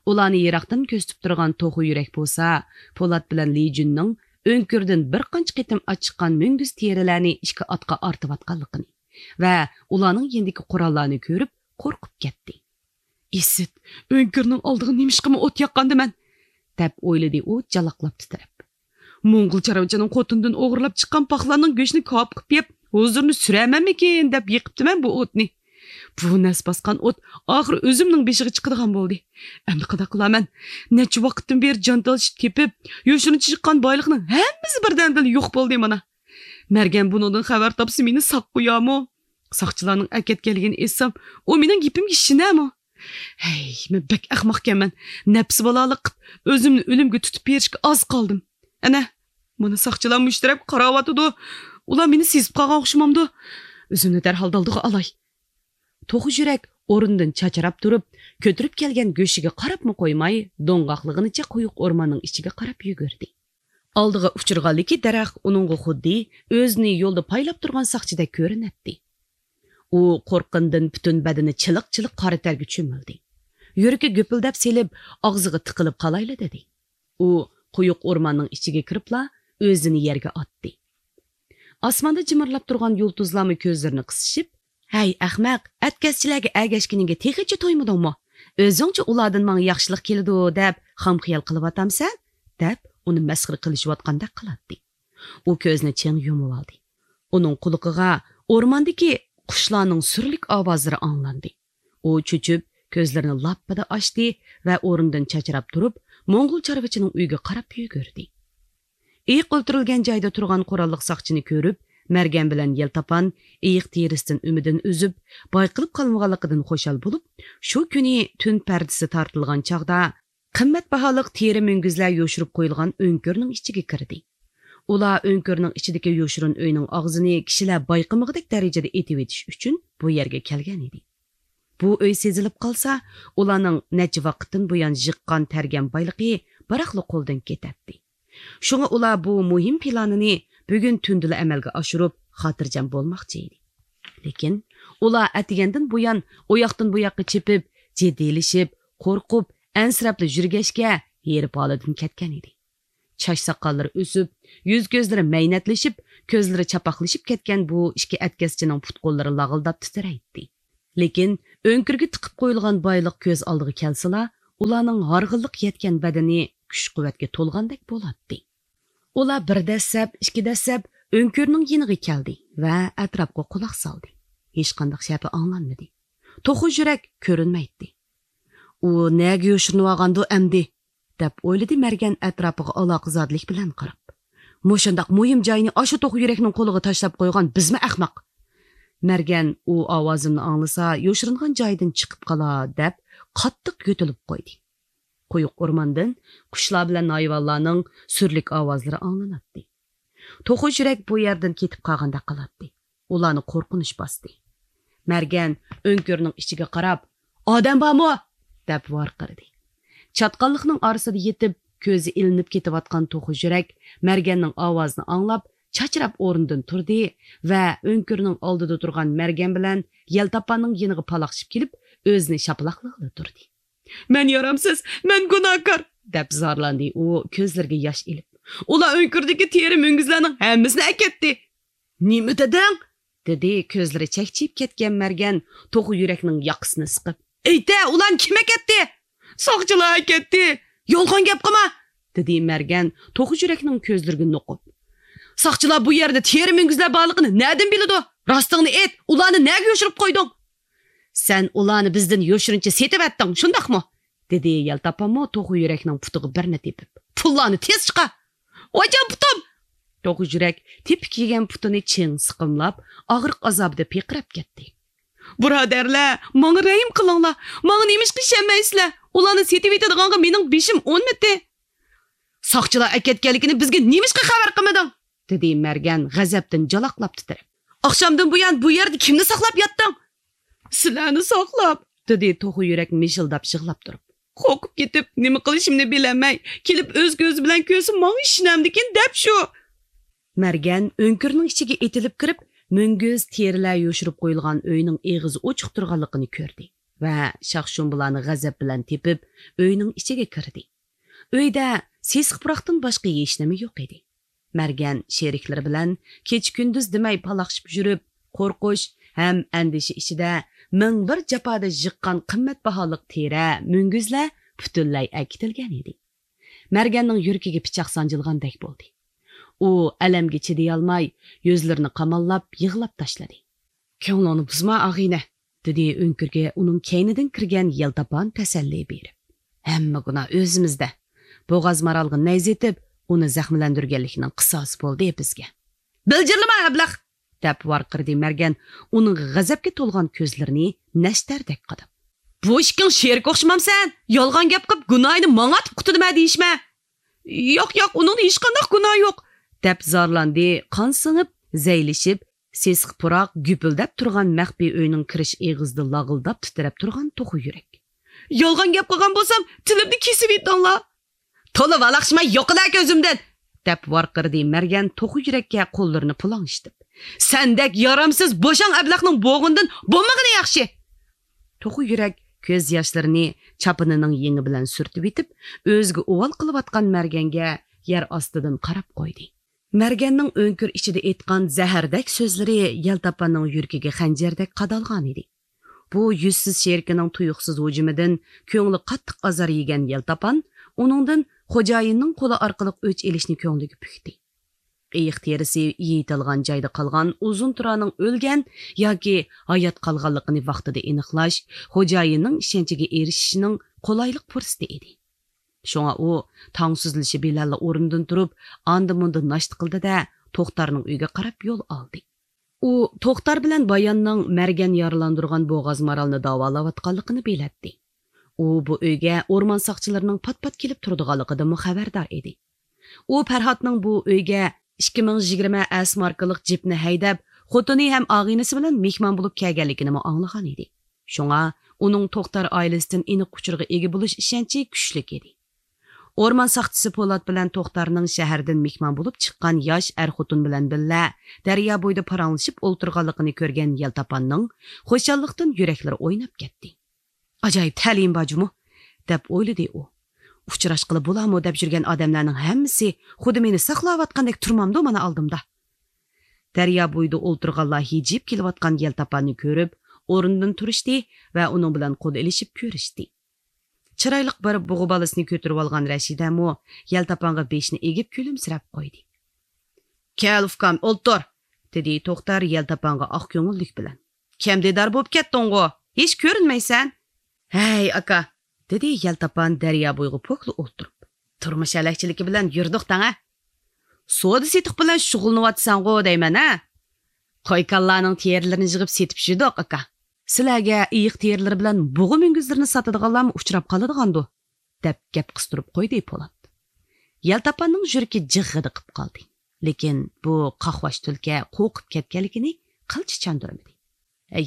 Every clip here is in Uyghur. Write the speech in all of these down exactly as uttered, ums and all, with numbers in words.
ئۇلارنى يىراقتىن كۆزىتىپ تۇرغان توخۇ يۈرەك بولسا، پولات بىلەن لى جۈننىڭ ئۆڭكۈردىن بىر قانچە قېتىم ئاچىققان مۈڭگۈز تېرىلەرنى ئىككى ئاتقا ئارتىۋاتقانلىقىنى ۋە ئۇلارنىڭ يېنىدىكى قوراللارنى كۆرۈپ قورقۇپ كەتتى. ئىسىت، ئۆڭكۈرنىڭ ئالدىغا نېمىشقىمۇ ئوت ياققاندىمەن؟ دەپ ئويلىدى ئۇ جالاقلاپ تىترەپ. موڭغۇل چارۋىچىنىڭ قوتۇندىن ئوغرىلاپ چىققان پاخلاننىڭ گۆشىنى كاۋاپ قىلىپ يەپ، ھۇزۇرنى سۈرەرمەنمىكىن دەپ يېقىپتىمەن بۇ ئوتنى. بۇ نەس باسقان ئوت ئاخىرى ئۆزۈمنىڭ بېشىغا چىقىدىغان بولدى. ئەمدى قانداق قىلارمەن؟ نەچچە ۋاقىتتىن بېرى جان تالىشىپ تېپىپ، يوشۇرۇنچە چىققان بايلىقنىڭ ھەممىسى بىردەمدىلا يوق بولدى مانا. مەرگەن بۇنىڭدىن خەۋەر تاپسا مېنى ساق قويارمۇ؟ ساقچىلارنىڭ ئەكەتكەنلىكىنى ئېيتسام، ئۇ مېنىڭ گېپىمگە ئىشىنەرمۇ؟ ھەي، مەن بەك ئەخمەقكەنمەن. نەپسى بالالىق قىپ، ئۆزۈمنى ئۆلۈمگە تۇتۇپ بېرىشكە ئاز قالدىم. ئەنە، مانا ساقچىلار مۇشۇ تەرەپكە قاراۋاتىدۇ. ئۇلار مېنى سېزىپ قالغان ئوخشىمامدۇ؟ ئۆزۈمنى دەرھال دالدىغا ئالاي. توخۇ يۈرەك ئورنىدىن چاچراپ تۇرۇپ، كۆتۈرۈپ كەلگەن گۆشىگە قاراپمۇ قويماي، دوڭغاقلىغىنىچە قويۇق ئورماننىڭ ئىچىگە قاراپ يۈگۈردى. ئالدىغا ئۇچرىغانلىكى دەرەخ ئۇنىڭغا خۇددى ئۆزىنى يولدا پايلاپ تۇرغان ساقچىدەك كۆرۈنەتتى. ئۇ قورققىنىدىن پۈتۈن بەدىنى چىلىق-چىلىق قارا تەرگە چۆمۈلدى. يۈرىكى گۈپۈلدەپ سېلىپ، ئاغزىغا تىقىلىپ قالايلا دېدى. ئۇ قويۇق ئورماننىڭ ئىچىگە كىرىپلا ئۆزىنى يەرگە ئاتتى. ئاسماندا جىمىرلاپ تۇرغان يۇلتۇزلارمۇ كۆزلىرىنى قىسىشىپ، ھەي ئەخمەق، ئەتكەسچىلەرگە ئەگەشكىنىڭگە تېخىچە تويمىدىڭمۇ؟ ئۆزۈڭچە ئۇلاردىن ماڭا ياخشىلىق كېلىدۇ دەپ خام خىيال قىلىۋاتامسەن؟ دەپ ئۇنى مەسخىرە قىلىشىۋاتقاندەك قىلاتتى. ئۇ كۆزىنى چىڭ يۇمۇۋالدى. ئۇنىڭ قۇلىقىغا ئورماندىكى قۇشلارنىڭ سۈرلۈك ئاۋازلىرى ئاڭلاندى. ئۇ چۆچۈپ، كۆزلىرىنى لاپپىدە ئاچتى ۋە ئورنىدىن چاچراپ تۇرۇپ، موڭغۇل چارۋىچىنىڭ ئۆيىگە قاراپ يۈگۈردى. ئېيىق ئولتۇرۇلغان جايدا تۇرغان قوراللىق ساقچىنى كۆرۈپ، مەرگەن بىلەن يەلتاپان ئېيىق تېرىسىدىن ئۈمىدىنى ئۈزۈپ، بايقىلىپ قالمىغانلىقىدىن خۇشال بولۇپ، شۇ كۈنى تۈن پەردىسى تارتىلغان چاغدا، قىممەت باھالىق تېرە مۈڭگۈزلەر يوشۇرۇپ قويۇلغان ئۆڭكۈرنىڭ ئىچىگە كىردى. ئۇلار ئۆڭكۈرنىڭ ئىچىدىكى يوشۇرۇن ئۆينىڭ ئاغزىنى كىشىلەر بايقىمىغۇدەك دەرىجىدە ئېتىۋېتىش ئۈچۈن بۇ يەرگە كەلگەن ئىدى. بۇ ئۆي سېزىلىپ قالسا، ئۇلارنىڭ نەچچە ۋاقىتتىن بۇيان يىغقان تەرگەن بايلىقى بىراقلا قولدىن كېتەتتى. شۇڭا ئۇلار بۇ مۇھىم پىلانىنى بۈگۈن تۈندىلا ئەمەلگە ئاشۇرۇپ، خاتىرجەم بولماقچى ئىدى. لېكىن ئۇلار ئەتىگەندىن بۇيان ئۇ ياقتىن بۇ ياققا چېپىپ، جىددىيلىشىپ، قورقۇپ، ئەنسىرەپلا يۈرگەچكە، ھېرىپ ھالىدىن كەتكەن ئىدى. چاچ ساقاللىرى ئۆسۈپ، يۈز كۆزلىرى مەينەتلىشىپ، كۆزلىرى چاپاقلىشىپ كەتكەن بۇ ئىككى ئەتكەسچىنىڭ پۇت قوللىرى لاغىلداپ تىترەيتتى. لېكىن ئۆڭكۈرگە تىقىپ قويۇلغان بايلىق كۆز ئالدىغا كەلسىلا، ئۇلارنىڭ ھارغىنلىق يەتكەن بەدىنى كۈچ-قۇۋۋەتكە تولغاندەك بولاتتى. ئۇلار بىر دەسسەپ، ئىككى دەسسەپ ئۆڭكۈرنىڭ يېنىغا كەلدى ۋە ئەتراپقا قۇلاق سالدى. ھېچقانداق شەپە ئاڭلانمىدى. توخۇ يۈرەك كۆرۈنمەيتتى. ئۇ نەگە يوشۇرۇنۇۋالغاندۇ ئەمدى؟ دەپ ئويلىدى مەرگەن ئەتراپىغا ئالاقىزادىلىك بىلەن قاراپ. مۇشۇنداق مۇھىم جاينى ئاشۇ توخۇ يۈرەكنىڭ قولىغا تاشلاپ قويغان بىزمۇ ئەخمەق. مەرگەن ئۇ ئاۋازىمنى ئاڭلىسا، يوشۇرۇنغان جايىدىن چىقىپ قالار، دەپ قاتتىق يۆتىلىپ قويدى. قويۇق ئورماندىن قۇشلار بىلەن ھايۋانلارنىڭ سۈرلۈك ئاۋازلىرى ئاڭلىناتتى. توخۇ يۈرەك بۇ يەردىن كېتىپ قالغاندەك قىلاتتى. ئۇلارنى قورقۇنچ باستى. مەرگەن ئۆڭكۈرنىڭ ئىچىگە قاراپ، «ئادەم بارمۇ؟» دەپ ۋارقىرىدى. چاتقاللىقنىڭ ئارىسىدا يېتىپ، كۆزى ئىلىنىپ كېتىۋاتقان توخۇ يۈرەك مەرگەننىڭ ئاۋازىنى ئاڭلاپ، چاچراپ ئورنىدىن تۇردى ۋە ئۆڭكۈرنىڭ ئالدىدا تۇرغان مەرگەن بىلەن يەلتاپاننىڭ يېنىغا پالاقشىپ كېلىپ، ئۆزىنى شاپىلاقلىغىلى تۇردى. «مەن يارامسىز، مەن گۇناھكار!» دەپ زارلاندى ئۇ كۆزلىرىگە ياش ئېلىپ. «ئۇلار ئۆڭكۈردىكى تېرە مۈڭگۈزلەرنىڭ ھەممىسىنى ئەكەتتى.» «نېمە دېدىڭ؟» دېدى كۆزلىرى چەكچىيىپ كەتكەن مەرگەن توخۇ يۈرەكنىڭ ياقىسىنى سىقىپ. «ئېيتە، ئۇلارنى كىم ئەكەتتى؟» «ساقچىلار ئەكەتتى.» «يالغان گەپ قىلما!» دېدى مەرگەن توخۇ يۈرەكنىڭ كۆزلىرىگە نوقۇپ. «ساقچىلار بۇ يەردە تېرە مۈڭگۈزلەر بارلىقىنى نەدىن بىلىدۇ؟ راستىڭنى ئېيت، ئۇلارنى نەگە يوشۇرۇپ قويدۇڭ؟» «سەن ئۇلارنى بىزدىن يوشۇرۇنچە سېتىۋەتتىڭ، شۇنداقمۇ؟» دېدى يەلتاپانمۇ توخۇ يۈرەكنىڭ پۇتىغا بىرنى تېپىپ. «پۇللارنى تېز چىقار!» «ۋايجان پۇتۇم!» توخۇ يۈرەك تېپىك يېگەن پۇتىنى چىڭ سىقىملاپ، ئاغرىق ئازابىدا پىرقىراپ كەتتى. «بۇرادەرلەر، ماڭا رەھىم قىلىڭلار! ماڭا نېمىشقا ئىشەنمەيسىلەر؟ ئۇلارنى سېتىۋېتىدىغانغا مېنىڭ بېشىم ئۇنىمىدى.» «ساقچىلار ئەكەتكەنلىكىنى بىزگە نېمىشقا خەۋەر قىلمىدىڭ؟» دېدى مەرگەن غەزەپتىن جالاقلاپ تىترەپ. «ئاخشامدىن بۇيان بۇ يەردە كىمنى ساقلاپ ياتتىڭ؟» «سىلەرنى ساقلاپ!» دېدى توخۇ يۈرەك مىشىلداپ يىغلاپ تۇرۇپ. «قورقۇپ كېتىپ، نېمە قىلىشىمنى بىلەلمەي، كېلىپ ئۆز كۆزى بىلەن كۆرسە ماڭا ئىشىنەمدىكىن دەپ شۇ.» مەرگەن ئۆڭكۈرنىڭ ئىچىگە ئېتىلىپ كىرىپ، مۈڭگۈز تېرىلەر يوشۇرۇپ قويۇلغان ئۆينىڭ ئېغىزى ئوچۇق تۇرغانلىقىنى كۆردى. ۋە شاخ-شۇمبىلارنى غەزەپ بىلەن تېپىپ، ئۆينىڭ ئىچىگە كىردى. ئۆيدە سېسىق پۇراقتىن باشقا ھېچنېمە يوق ئىدى. مەرگەن شېرىكلىرى بىلەن كېچە-كۈندۈز دېمەي پالاقشىپ يۈرۈپ، قورقۇش ھەم ئەندىشە ئىچىدە مىڭ بىر جاپادا يىغقان قىممەت باھالىق تېرە، مۈڭگۈزلەر پۈتۈنلەي ئەكېتىلگەن ئىدى. مەرگەننىڭ يۈرىكىگە پىچاق سانجىلغاندەك بولدى. ئۇ ئەلەمگە چىدىيالماي، يۈزلىرىنى قاماللاپ، يىغلاپ تاشلىدى. «كۆڭلۈڭنى بۇزما، ئاغىنە»، دېدى ئۆڭكۈرگە ئۇنىڭ كەينىدىن كىرگەن يەلتاپان تەسەللى بېرىپ. «ھەممە گۇناھ ئۆزىمىزدە. بوغاز مارالغا نەيزە ئېتىپ، ئۇنى زەخىملەندۈرگەنلىكنىڭ قىساسى بولدى بىزگە.» «بىلجىرلىما، ئەبلەخ!» دەپ ۋارقىرىدى مەرگەن، ئۇنىڭ غەزەپكە تولغان كۆزلىرىنى نەشتەردەك قاداپ. «بۇ ئىككىڭ شېرىك ئوخشىمامسەن؟ يالغان گەپ قىلىپ، گۇناھىنى ماڭا ئاتىپ قۇتۇلىمەن دېيىشمە.» «ياق، ياق، ئۇنىڭدا ھېچقانداق گۇناھ يوق!» دەپ زارلاندى، قان سىڭىپ، زەيلىشىپ، سېسىق پۇراق گۈپۈلدەپ تۇرغان مەخپىي ئۆينىڭ كىرىش ئېغىزىدا لاغىلداپ تىترەپ تۇرغان توخۇ يۈرەك. «يالغان گەپ قىلغان بولسام، تىلىمنى كېسىۋېتىڭلار!» «تولا ۋالاقشىماي يوقىلا كۆزۈمدىن!» دەپ ۋارقىرىدى مەرگەن توخۇ يۈرەككە قوللىرىنى پۇلاڭلىشىپ. «سەندەك يارامسىز بوشاڭ ئەبلەخنىڭ بوغۇنىدىن بولمىغىنى ياخشى!» توخۇ يۈرەك كۆز ياشلىرىنى چاپىنىنىڭ يېڭى بىلەن سۈرتۈۋېتىپ، ئۆزىگە ئۇۋال قىلىۋاتقان مەرگەنگە يەر ئاستىدىن قاراپ قويدى. مەرگەننىڭ ئۆڭكۈر ئىچىدە ئېيتقان زەھەردەك سۆزلىرى يەلتاپاننىڭ يۈرىكىگە خەنجەردەك قادالغانىدى. بۇ يۈزسىز شېرىكىنىڭ تۇيۇقسىز ھۇجۇمىدىن كۆڭلى قاتتىق ئازار يېگەن يەلتاپان ئۇنىڭدىن خوجايىننىڭ قولى ئارقىلىق ئۆچ ئېلىشنى كۆڭلىگە پۈكتى. ئېيىق تېرىسى يېيىتىلغان جايدا قالغان ئۇزۇن تۇرانىڭ ئۆلگەن ياكى ھايات قالغانلىقىنى ۋاقتىدا ئېنىقلاش خوجايىننىڭ ئىشەنچىگە ئېرىشىشنىڭ قولايلىق پۇرسىتى ئىدى. شۇڭا ئۇ تاڭ سۈزۈلۈشى بىلەنلا ئورنىدىن تۇرۇپ، ئاندا-مۇندا ناشتا قىلدى-دە، توختارنىڭ ئۆيىگە قاراپ يول ئالدى. ئۇ توختار بىلەن باياننىڭ مەرگەن يارىلاندۇرغان بوغاز مارالنى داۋالاۋاتقانلىقىنى بىلەتتى. ئۇ بۇ ئۆيگە ئورمان ساقچىلىرىنىڭ پات-پات كېلىپ تۇرىدىغانلىقىدىنمۇ خەۋەردار ئىدى. ئۇ پەرھاتنىڭ بۇ ئۆيگە ئىككى مىڭ يىگىرمە ئەس ماركىلىق جىپنى ھەيدەپ، خوتۇنى ھەم ئاغىنىسى بىلەن مېھمان بولۇپ كەلگەنلىكىنىمۇ ئاڭلىغان ئىدى. شۇڭا ئۇنىڭ توختار ئائىلىسىدىن ئېنىق ئۇچۇرغا ئىگە بولۇش ئىشەنچى كۈچلۈك ئىدى. ئورمان ساقچىسى پولات بىلەن توختارنىڭ شەھەردىن مېھمان بولۇپ چىققان ياش ئەر-خوتۇن بىلەن بىللە دەريا بويىدا پاراڭلىشىپ ئولتۇرغانلىقىنى كۆرگەن يەلتاپاننىڭ خۇشاللىقتىن يۈرەكلىرى ئويناپ كەتتى. «ئاجايىپ تەلىيىم بار جۇمۇ» دەپ ئويلىدى ئۇ. «ئۇچراشقىلى بولامۇ دەپ يۈرگەن ئادەملەرنىڭ ھەممىسى خۇددى مېنى ساقلاۋاتقاندەك تۇرمامدۇ مانا ئالدىمدا؟» دەريا بويىدا ئولتۇرغانلار ھىجىيىپ كېلىۋاتقان يەلتاپاننى كۆرۈپ، ئورنىدىن تۇرۇشتى ۋە ئۇنىڭ بىلەن قول ئېلىشىپ كۆرۈشتى. چىرايلىق بىر بۇغا بالىسىنى كۆتۈرۈۋالغان رەشىدەمۇ يەلتاپانغا بېشىنى ئېگىپ كۈلۈمسىرەپ قويدى. «كەل، ئۇكام، ئولتۇر!» دېدى توختار يەلتاپانغا ئاق كۆڭۈللۈك بىلەن. «كەم دىدار بولۇپ كەتتىڭغۇ؟ ھېچ كۆرۈنمەيسەن.» «ھەي، ئاكا!» دېدى يەلتاپان دەريا بويىغا پوكلا ئولتۇرۇپ. «تۇرمۇش ھەلەكچىلىكى بىلەن يۈردۇق تەڭ ھە؟ سودا-سېتىق بىلەن شۇغۇللىنىۋاتىسەنغۇ دەيمەن ھە؟ قوي-كالىلارنىڭ تېرىلىرىنى يىغىپ سېتىپ يۈردۇق، ئاكا.» «سىلەرگە ئېيىق تېرىلىرى بىلەن بۇغا مۈڭگۈزلىرىنى ساتىدىغانلارمۇ ئۇچراپ قالىدىغاندۇ؟» دەپ گەپ قىستۇرۇپ قويدى پولات. يەلتاپاننىڭ يۈرىكى جىغغىدە قىپ قالدى. لېكىن بۇ قاقباش تۈلكە قورقۇپ كەتكەنلىكىنى قىلچە چاندۇرمىدى.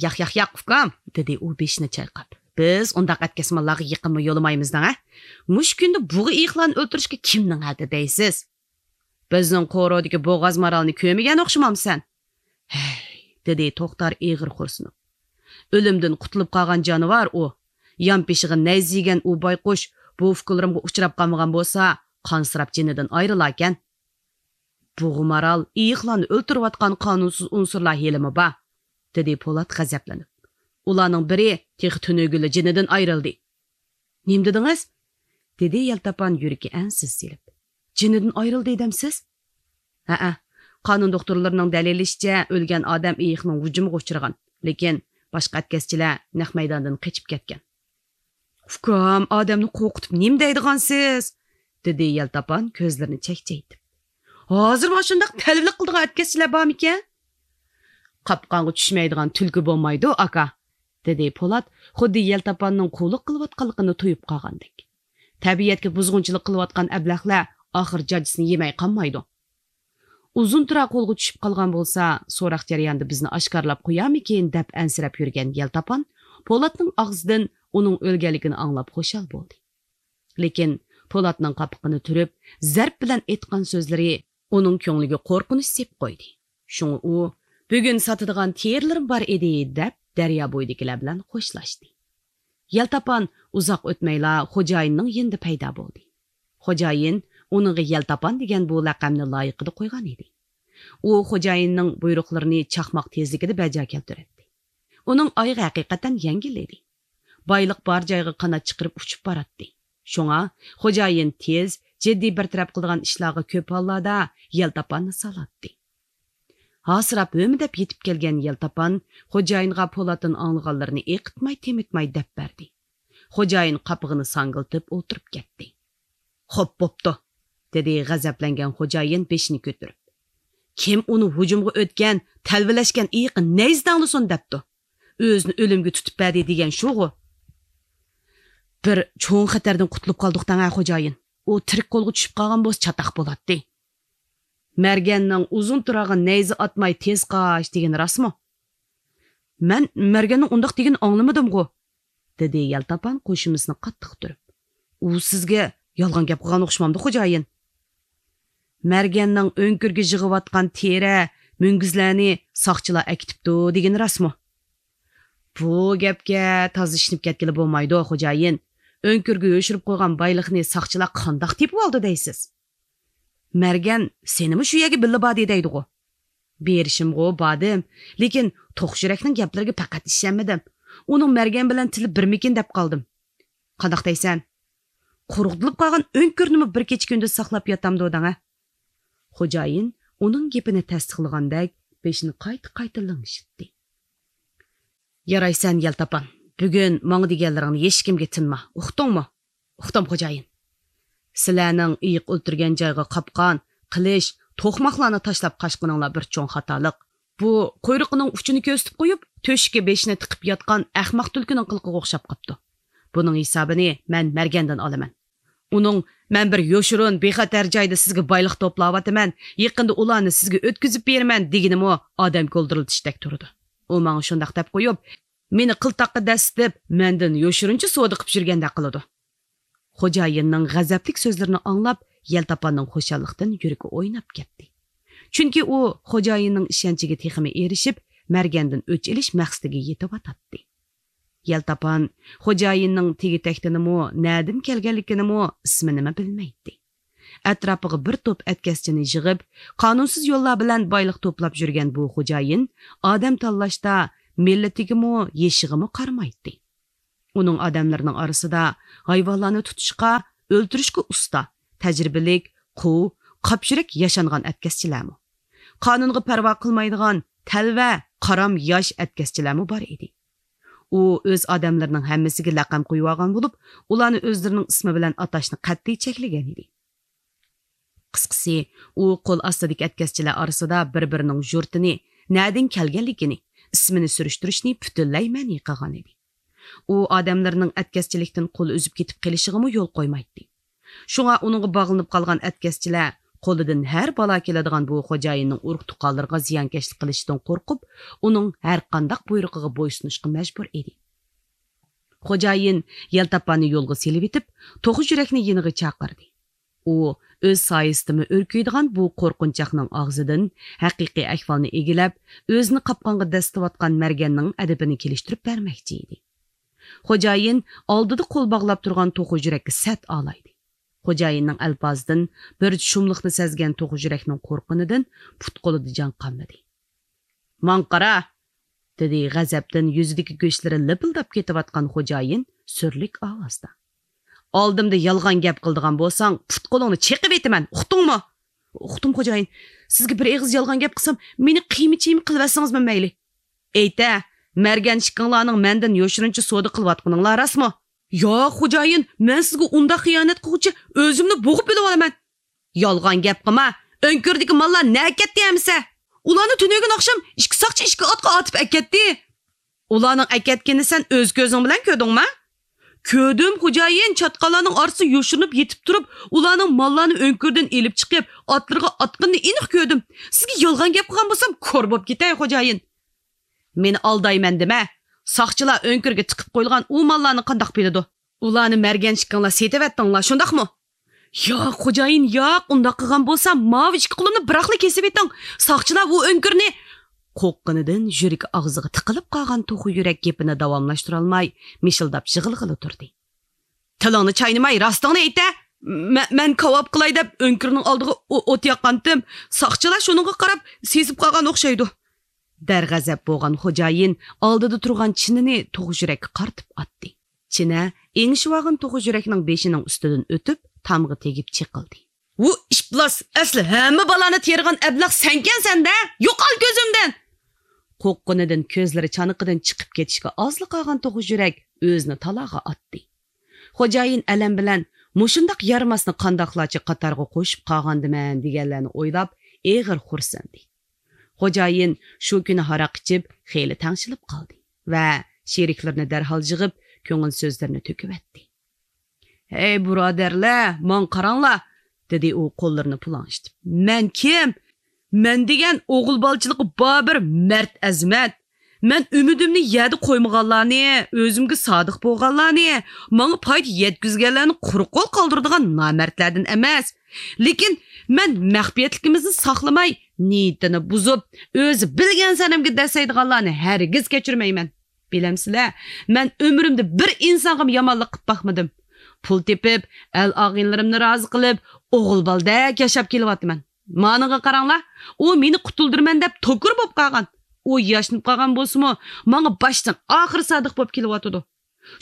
«ياق، ياق، ياق، ئۇكام!» دېدى ئۇ بېشىنى چايقاپ. «بىز ئۇنداق ئەتكەسمانلارغا يېقىنمۇ يولىمايمىز دەڭ ھە؟ مۇشۇ كۈندە بۇغا ئېيىقلارنى ئۆلتۈرۈشكە كىمنىڭ ھەددى دەيسىز؟ بىزنىڭ قورۇدىكى بوغاز مارالنى كۆرمىگەن ئوخشىمامسەن؟ ھەي!» دېدى توختار ئېغىر خورسىنىپ. «ئۆلۈمدىن قۇتۇلۇپ قالغان جانىۋار ئۇ. يانپېشىغا نەيزە يېگەن ئۇ بايقۇش بۇ ئۇكىلىرىمغا ئۇچراپ قالمىغان بولسا، قانسىراپ جېنىدىن ئايرىلاركەن.» «بۇغا مارال ئېيىقلارنى ئۆلتۈرۈۋاتقان قانۇنسىز ئۇنسۇرلار ھېلىمۇ بار»، دېدى پولات غەزەپلىنىپ. «ئۇلارنىڭ بىرى تېخى تۈنۈگۈنلا جېنىدىن ئايرىلدى.» «نېمە دېدىڭىز؟» دېدى يەلتاپان يۈرىكى ئەنسىز سېلىپ. «جېنىدىن ئايرىلدى دەمسىز؟» «ھەئە، قانۇن دوختۇرلىرىنىڭ دەلىللىشىچە، ئۆلگەن ئادەم ئېيىقنىڭ ھۇجۇمىغا ئۇچرىغان، لېكىن باشقا ئەتكەسچىلەر نەق مەيداندىن قېچىپ كەتكەن.» «ئۇكام، ئادەمنى قورقۇتۇپ نېمە دەيدىغانسىز؟» دېدى يەلتاپان كۆزلىرىنى چەكچەيتىپ. «ھازىرمۇ ئاشۇنداق تەلۋىلىك قىلىدىغان ئەتكەسچىلەر بارمىكەن؟» «قاپقانغا چۈشمەيدىغان تۈلكە بولمايدۇ، ئاكا.» دېدى پولات خۇددى يەلتاپاننىڭ قۇللۇق قىلىۋاتقانلىقىنى تۇيۇپ قالغاندەك. «تەبىئەتكە بۇزغۇنچىلىق قىلىۋاتقان ئەبلەخلەر ئاخىر جاجىسىنى يېمەي قالمايدۇ.» «ئۇزۇن تۇرا قولغا چۈشۈپ قالغان بولسا، سوراق جەريانىدا بىزنى ئاشكارىلاپ قويارمىكىن؟» دەپ ئەنسىرەپ يۈرگەن يەلتاپان پولاتنىڭ ئاغزىدىن ئۇنىڭ ئۆلگەنلىكىنى ئاڭلاپ خۇشال بولدى. لېكىن پولاتنىڭ قاپىقىنى تۈرۈپ، زەرب بىلەن ئېيتقان سۆزلىرى ئۇنىڭ كۆڭلىگە قورقۇنچ سېلىپ قويدى. شۇڭا ئۇ، «بۈگۈن ساتىدىغان تېرىلىرىم بار ئىدى» دەپ، دەريا بويىدىكىلەر بىلەن خوشلاشتى. يەلتاپان ئۇزاق ئۆتمەيلا خوجايىننىڭ يېنىدا پەيدا بولدى. خوجايىن ئۇنىڭغا يەلتاپان دېگەن بۇ لەقەمنى لايىقىدا قويغان ئىدى. ئۇ خوجايىننىڭ بۇيرۇقلىرىنى چاقماق تېزلىكىدە بەجا كەلتۈرەتتى. ئۇنىڭ ئايىغى ھەقىقەتەن يەڭگىل ئىدى. بايلىق بار جايغا قانات چىقىرىپ ئۇچۇپ باراتتى. شۇڭا خوجايىن تېز، جىددىي بىر تەرەپ قىلىدىغان ئىشلارغا كۆپ ھاللاردا يەلتاپاننى سالاتتى. ھاسىراپ ھۆمۈدەپ يېتىپ كەلگەن يەلتاپان خوجايىنغا پولاتتىن ئاڭلىغانلىرىنى ئېقىتماي-تېمىتماي دەپ بەردى. خوجايىن قاپىقىنى ساڭگىلىتىپ ئولتۇرۇپ كەتتى. خوپ بوپتۇ، دېدى غەزەپلەنگەن خوجايىن بېشىنى كۆتۈرۈپ. كىم ئۇنى ھۇجۇمغا ئۆتكەن، تەلۋىلەشكەن ئېيىقى نەيزە داڭلىسۇن دەپتۇ. ئۆزىنى ئۆلۈمگە تۇتۇپ بەردى دېگەن شۇغۇ. بىر چوڭ خەتەردىن قۇتۇلۇپ قالدۇق دەڭە خوجايىن. ئۇ تىرىك قولغا چۈشۈپ قالغان بولسا چاتاق بولاتتى. مەرگەننىڭ ئۇزۇن تۇراغا نەيزە ئاتماي تېز قاچ دېگىنى راستمۇ؟ مەن مەرگەننىڭ ئۇنداق دېگىنىنى ئاڭلىمىدىمغۇ، دېدى يەلتاپان قوشۇمىسىنى قاتتىق تۈرۈپ. ئۇ سىزگە يالغان گەپ قىلغان ئوخشىمامدۇ خوجايىن؟ مەرگەننىڭ ئۆڭكۈرگە يىغىۋاتقان تېرە، مۈڭگۈزلەرنى ساقچىلار ئەكېتىپتۇ دېگىنى راستمۇ؟ بۇ گەپكە تازا ئىشىنىپ كەتكىلى بولمايدۇ خوجايىن. ئۆڭكۈرگە يوشۇرۇپ قويغان بايلىقنى ساقچىلار قانداق تېپىۋالدى دەيسىز؟ مەرگەن سېنىمۇ شۇ يەرگە بىللە باردى دەيدىغۇ. بېرىشىمغۇ باردىم، لېكىن توخۇ يۈرەكنىڭ گەپلىرىگە پەقەت ئىشەنمىدىم. ئۇنىڭ مەرگەن بىلەن تىلى بىرمىكىن دەپ قالدىم. قانداق دەيسەن؟ قۇرۇقلىنىپ قالغان ئۆڭكۈرنىمۇ بىر كېچە كۈندۈز ساقلاپ ياتامدۇ دەڭە؟ خوجايىن ئۇنىڭ گېپىنى تەستىقلىغاندەك بېشىنى قايتا-قايتا لىڭشىتتى. يارايسەن يەلتاپان، بۈگۈن ماڭا دېگەنلىرىڭنى ھېچكىمگە تىنما، ئۇقتۇڭمۇ؟ ئۇقتۇم خوجايىن. سىلەرنىڭ ئېيىق ئۆلتۈرگەن جايغا قاپقان، قىلىچ، توقماقلارنى تاشلاپ قاچقىنىڭلار بىر چوڭ خاتالىق. بۇ قۇيرۇقىنىڭ ئۇچىنى كۆرسىتىپ قويۇپ، تۆشۈككە بېشىنى تىقىپ ياتقان ئەخمەق تۈلكىنىڭ قىلىقىغا ئوخشاپ قاپتۇ. بۇنىڭ ھېسابىنى مەن مەرگەندىن ئالىمەن. ئۇنىڭ «مەن بىر يوشۇرۇن، بىخەتەر جايدا سىزگە بايلىق توپلاۋاتىمەن، يېقىندا ئۇلارنى سىزگە ئۆتكۈزۈپ بېرىمەن» دېگىنىمۇ ئادەم گولدۇرلىتىشتەك تۇرىدۇ. ئۇ ماڭا شۇنداق دەپ قويۇپ، مېنى قىلتاققا دەسسىتىپ، مەندىن يوشۇرۇنچە سودا قىلىپ يۈرگەندەك قىلىدۇ. خوجايىننىڭ غەزەپلىك سۆزلىرىنى ئاڭلاپ، يەلتاپاننىڭ خۇشاللىقتىن يۈرىكى ئويناپ كەتتى. چۈنكى ئۇ خوجايىننىڭ ئىشەنچىگە تېخىمۇ ئېرىشىپ، مەرگەندىن ئۆچ ئېلىش مەقسىتىگە يېتىۋاتاتتى. يەلتاپان خوجايىننىڭ تېگى-تەكتىنىمۇ، نەدىن كەلگەنلىكىنىمۇ، ئىسمىنىمۇ بىلمەيتتى. ئەتراپىغا بىر توپ ئەتكەسچىنى يىغىپ، قانۇنسىز يوللار بىلەن بايلىق توپلاپ يۈرگەن بۇ خوجايىن ئادەم تاللاشتا مىللىتىگىمۇ، يېشىغىمۇ قارىمايتتى. ئۇنىڭ ئادەملىرىنىڭ ئارىسىدا ھايۋانلارنى تۇتۇشقا، ئۆلتۈرۈشكە ئۇستا، تەجرىبىلىك، قۇۋ، قاپيۈرەك ياشانغان ئەتكەسچىلەرمۇ، قانۇنغا پەرۋا قىلمايدىغان تەلۋە، قارام ياش ئەتكەسچىلەرمۇ بار ئىدى. ئۇ ئۆز ئادەملىرىنىڭ ھەممىسىگە لەقەم قويۇۋالغان بولۇپ، ئۇلارنى ئۆزلىرىنىڭ ئىسمى بىلەن ئاتاشنى قەتئىي چەكلىگەن ئىدى. قىسقىسى، ئۇ قول ئاستىدىكى ئەتكەسچىلەر ئارىسىدا بىر-بىرىنىڭ يۇرتىنى، نەدىن كەلگەنلىكىنى، ئىسمىنى سۈرۈشتۈرۈشنى پۈتۈنلەي مەنئى قىلغان ئىدى. ئۇ ئادەملىرىنىڭ ئەتكەسچىلىكتىن قولى ئۈزۈپ كېتىپ قېلىشىغىمۇ يول قويمايتتى. شۇڭا ئۇنىڭغا باغلىنىپ قالغان ئەتكەسچىلەر قولىدىن ھەر بالا كېلىدىغان بۇ خوجايىننىڭ ئۇرۇق-تۇغقانلىرىغا زىيانكەشلىك قىلىشىدىن قورقۇپ، ئۇنىڭ ھەر قانداق بۇيرۇقىغا بويسۇنۇشقا مەجبۇر ئىدى. خوجايىن يەلتاپاننى يولغا سېلىۋېتىپ، توخۇ يۈرەكنى يېنىغا چاقىردى. ئۇ ئۆز سايىسىدىمۇ ئۆركۈيدىغان بۇ قورقۇنچاقنىڭ ئاغزىدىن ھەقىقىي ئەھۋالنى ئىگىلەپ، ئۆزىنى قاپقانغا دەسسىتىۋاتقان مەرگەننىڭ ئەدىپىنى كېلىشتۈرۈپ بەرمەكچى ئىدى. خوجايىن ئالدىدا قول باغلاپ تۇرغان توخۇ يۈرەككە سەت ئالايدى. خوجايىننىڭ ئەلپازىدىن بىر شۇملۇقنى سەزگەن توخۇ يۈرەكنىڭ قورققىنىدىن پۇت-قولىدا جان قالمىدى. ماڭا قارا! دېدى غەزەپتىن يۈزىدىكى گۆشلىرى لىپىلداپ كېتىۋاتقان خوجايىن سۈرلۈك ئاۋازدا. ئالدىمدا يالغان گەپ قىلىدىغان بولساڭ، پۇت-قولۇڭنى چېقىۋېتىمەن، ئۇقتۇڭمۇ؟ ئۇقتۇم خوجايىن. سىزگە بىر ئېغىز يالغان گەپ قىلسام، مېنى قىيما-چىيما قىلىۋەتسىڭىزمۇ مەيلى. ئېيتە، مەرگەن ئىككىڭلارنىڭ مەندىن يوشۇرۇنچە سودا قىلىۋاتقىنىڭلار راستمۇ؟ ياق، خوجايىن، مەن سىزگە ئۇنداق خىيانەت قىلغۇچى ئۆزۈمنى بوغۇپ ئۆلۈۋالىمەن. يالغان گەپ قىلما، ئۆڭكۈردىكى ماللار نەگە كەتتى ئەمىسە؟ ئۇلارنى تۈنۈگۈن ئاخشام ئىككى ساقچى ئىككى ئاتقا ئارتىپ ئەكەتتى. ئۇلارنىڭ ئەكەتكىنىنى سەن ئۆز كۆزۈڭ بىلەن كۆردۈڭمۇ؟ كۆردۈم، خوجايىن، چاتقاللارنىڭ ئارىسىدا يوشۇرۇنۇپ يېتىپ تۇرۇپ، ئۇلارنىڭ ماللارنى ئۆڭكۈردىن ئېلىپ چىقىپ، ئاتلىرىغا ئاتقىنىنى ئېنىق كۆردۈم. سىزگە يالغان گەپ قىلغان بولسام، كور بوپ كېتەي، خوجايىن. مېنى ئالدايمەن دېمە. ساقچىلار ئۆڭكۈرگە تىقىپ قويۇلغان ئۇ ماللارنى قانداق بىلىدۇ؟ ئۇلارنى مەرگەن ئىككىڭلار سېتىۋەتتىڭلار، شۇنداقمۇ؟ ياق، خوجايىن، ياق، ئۇنداق قىلغان بولسام، ماۋۇ ئىككى قولۇمنى بىراقلا كېسىۋېتىڭ. ساقچىلار ئۇ ئۆڭكۈرنى قورققىنىدىن يۈرىكى ئاغزىغا تىقىلىپ قالغان توخۇ يۈرەك گېپىنى داۋاملاشتۇرالماي، مىشىلداپ يىغلىغىلى تۇردى. تىلىڭنى چاينىماي، راستىڭنى ئېيت-دە! مە-، مەن كاۋاپ قىلاي دەپ ئۆڭكۈرنىڭ ئالدىغا ئو-، ئوت ياققانتىم. ساقچىلار شۇنىڭغا قاراپ سېسىپ قالغان ئوخشايدۇ. دەرغەزەپ بولغان خوجايىن ئالدىدا تۇرغان چىنىنى توخۇ يۈرەككە قارىتىپ ئاتتى. چىنە ئېڭىشىۋالغان توخۇ يۈرەكنىڭ بېشىنىڭ ئۈستىدىن ئۆتۈپ، تامغا تېگىپ چېقىلدى. ۋۇ ئىپلاس، ئەسلى ھەممە بالانى تېرىغان ئەبلەخ سەنكەنسەن-دە! يوقال كۆزۈمدىن! قورققىنىدىن كۆزلىرى چانىقىدىن چىقىپ كېتىشكە ئازلا قالغان توخۇ يۈرەك ئۆزىنى تالاغا ئاتتى. خوجايىن ئەلەم بىلەن، مۇشۇنداق يارىماسنى قانداقلارچە قاتارغا قوشۇپ قالغاندىمەن دېگەنلەرنى ئويلاپ، ئېغىر خورسەندى. خوجايىن شۇ كۈنى ھاراق ئىچىپ، خېلى تەڭشىلىپ قالدى ۋە شېرىكلىرىنى دەرھال يىغىپ، كۆڭۈل سۆزلىرىنى تۆكۈۋەتتى. «ھەي، بۇرادەرلەر، ماڭا قاراڭلار!» دېدى ئۇ قوللىرىنى پۇلاڭشىتىپ. «مەن كىم؟ مەن دېگەن ئوغۇل بالىچىلىقى بار بىر مەرد ئەزىمەت. مەن ئۈمىدىمنى يەردە قويمىغانلارنى، ئۆزۈمگە سادىق بولغانلارنى، ماڭا پايدا يەتكۈزگەنلەرنى قۇرۇق قول قالدۇرىدىغان نامەردلەردىن ئەمەس. لېكىن مەن مەخپىيەتلىكىمىزنى ساقلىماي، نىيىتىنى بۇزۇپ، ئۆزى بىلگەن سەنەمگە دەسسەيدىغانلارنى ھەرگىز كەچۈرمەيمەن. بىلەمسىلەر، مەن ئۆمرۈمدە بىر ئىنسانغىمۇ يامانلىق قىلىپ باقمىدىم. پۇل تېپىپ، ئەل-ئاغىنىلىرىمنى رازى قىلىپ، ئوغۇل بالىدەك ياشاپ كېلىۋاتىمەن. مانىڭغا قاراڭلار، ئۇ مېنى قۇتۇلدۇرىمەن دەپ توكۇر بولۇپ قالغان. ئۇ ياشىنىپ قالغان بولسىمۇ، ماڭا باشتىن ئاخىر سادىق بولۇپ كېلىۋاتىدۇ.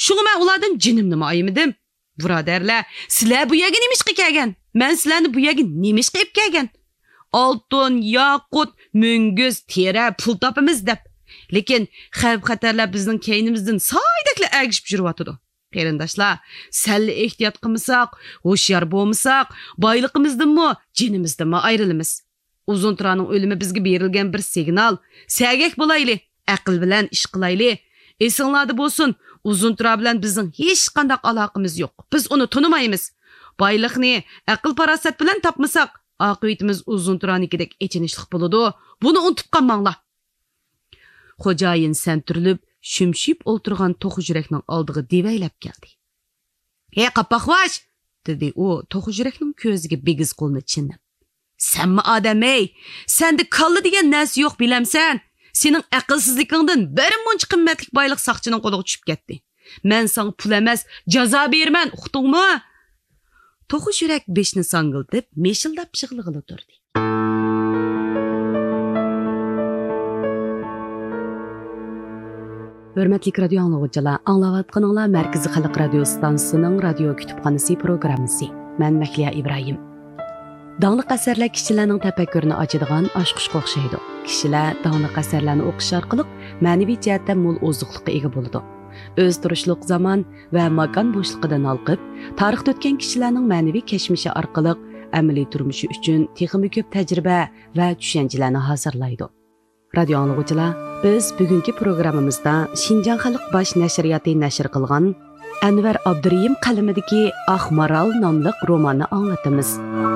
شۇڭا مەن ئۇلاردىن جېنىمنىمۇ ئايىمىدىم. بۇرادەرلەر، سىلەر بۇ يەرگە نېمىشقا كەلگەن؟ مەن سىلەرنى بۇ يەرگە نېمىشقا ئېلىپ كەلگەن؟ ئالتۇن، ياقۇت، مۈڭگۈز، تېرە، پۇل تاپىمىز دەپ. لېكىن خەۋپ-خەتەرلەر بىزنىڭ كەينىمىزدىن سايدەكلا ئەگىشىپ يۈرۈۋاتىدۇ. قېرىنداشلار، سەللا ئېھتىيات قىلمىساق، ھوشيار بولمىساق، بايلىقىمىزدىنمۇ، جېنىمىزدىنمۇ ئايرىلىمىز. ئۇزۇن تۇرانىڭ ئۆلۈمى بىزگە بېرىلگەن بىر سىگنال. سەگەك بولايلى، ئەقىل بىلەن ئىش قىلايلى. ئېسىڭلاردا بولسۇن، ئۇزۇن تۇرا بىلەن بىزنىڭ ھېچقانداق ئالاقىمىز يوق. بىز ئۇنى تونۇمايمىز. بايلىقنى ئەقىل-پاراسەت بىلەن تاپمىساق، ئاقىۋىتىمىز ئۇزۇن تۇرانىڭكىدەك ئېچىنىشلىق بولىدۇ. بۇنى ئۇنتۇپ قالماڭلار. خوجايىن سەنتۈرۈلۈپ، شۈمشىيىپ ئولتۇرغان توخۇ يۈرەكنىڭ ئالدىغا دېۋەيلەپ كەلدى. «ھەي، قاپاقباش!» دېدى ئۇ توخۇ يۈرەكنىڭ كۆزىگە بىگىز قولىنى چىللاپ. «سەنمۇ ئادەم ھەي! سەندە كاللا دېگەن نەرسە يوق، بىلەمسەن؟ سېنىڭ ئەقىلسىزلىكىڭدىن بىر مۇنچە قىممەتلىك بايلىق ساقچىنىڭ قولىغا چۈشۈپ كەتتى. مەن ساڭا پۇل ئەمەس، جازا بېرىمەن، ئۇقتۇڭمۇ؟» توخۇ يۈرەك بېشىنى ساڭگىلتىپ، مىشىلداپ يىغلىغىلى تۇردى. ھۆرمەتلىك رادىيو ئاڭلىغۇچىلار، ئاڭلاۋاتقىنىڭلار مەركىزىي خەلق رادىيو ئىستانسىسىنىڭ رادىيو كۈتۈپخانىسى پروگراممىسى. مەن مەھلىيا ئىبراھىم. داڭلىق ئەسەرلەر كىشىلەرنىڭ تەپەككۇرىنى ئاچىدىغان ئاچقۇچقا ئوخشايدۇ. كىشىلەر داڭلىق ئەسەرلەرنى ئوقۇش ئارقىلىق مەنىۋى جەھەتتە مول ئوزۇقلۇققا ئىگە بولىدۇ. ئۆزى تۇرۇشلۇق زامان ۋە ماكان بوشلۇقىدىن ھالقىپ، تارىختا ئۆتكەن كىشىلەرنىڭ مەنىۋى كەچمىشى ئارقىلىق ئەمەلىي تۇرمۇشى ئۈچۈن تېخىمۇ كۆپ تەجرىبە ۋە چۈشەنچىلەرنى ھازىرلايدۇ. رادىيو ئاڭلىغۇچىلار، بىز بۈگۈنكى پروگراممىمىزدا شىنجاڭ خەلق باش نەشرىياتى نەشر قىلغان ئەنۋەر ئابدۇرېھىم قەلىمىدىكى ئاق مارال ناملىق روماننى ئاڭلىتىمىز.